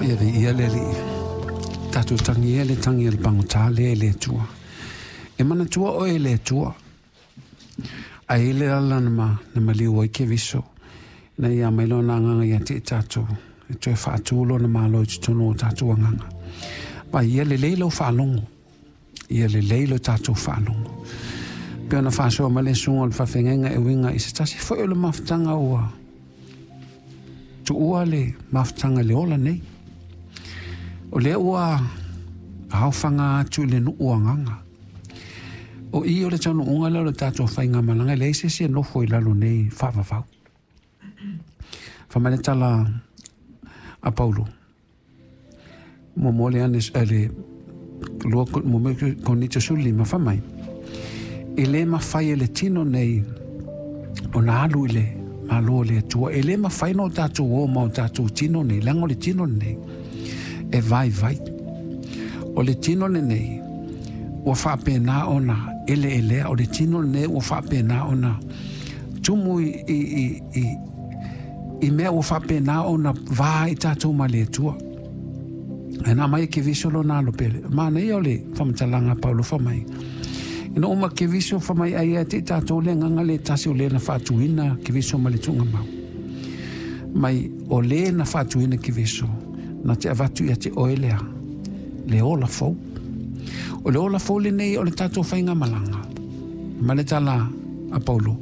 Ia viia le Alii. Tatou tagia le tagi a le pagota lea i le Atua. E manatua oe e le Atua. Ae i le ala na, ma, na maliu ai Keriso, ina ia aumai lona agaga ia te i tatou, e toe faatu lona malo i totonu o tatou agaga. Ma ia lelei lau faalogo, ia lelei lo tatou faalogo. Pe ona faasoa mai le susuga o le faafeagaiga e uiga i se tasi foi o le mafutaga ua tuua le mafutaga i le ola nei. O lea ua aofaga atu i le nuu agaga. O i o le taunuuga lea o le tatou faigamalaga, e leai se isi e nofo i lalo nei faavavau. Fai mai le tala a Paulo, muamua le ane le lua muamua Korinito 15, fai mai, e le mafai e le tino nei ona alu i le Malo o le Atua. E le mafai ona o tatou o ma o tatou tino nei, leaga o le tino lenei e vaivai. O le tino lenei ua faapena ona eleelea, o le tino lenei ua faapena ona tumu i mea ua faapena ona va i tatou ma le Atua. E na mai e Keriso lona alo pele. Manaia o le faamatalaga a Paulo fai mai. Ina uma Keriso fai mai ai ia te i tatou le agaga le tasi o le na faatuina Keriso ma le tuugamau. Mai o le na faatuina Keriso na te avatu ia te oe lea le ola fou. O le ola fou lenei o le tatou faigamalaga. Ma le tala a Paulo,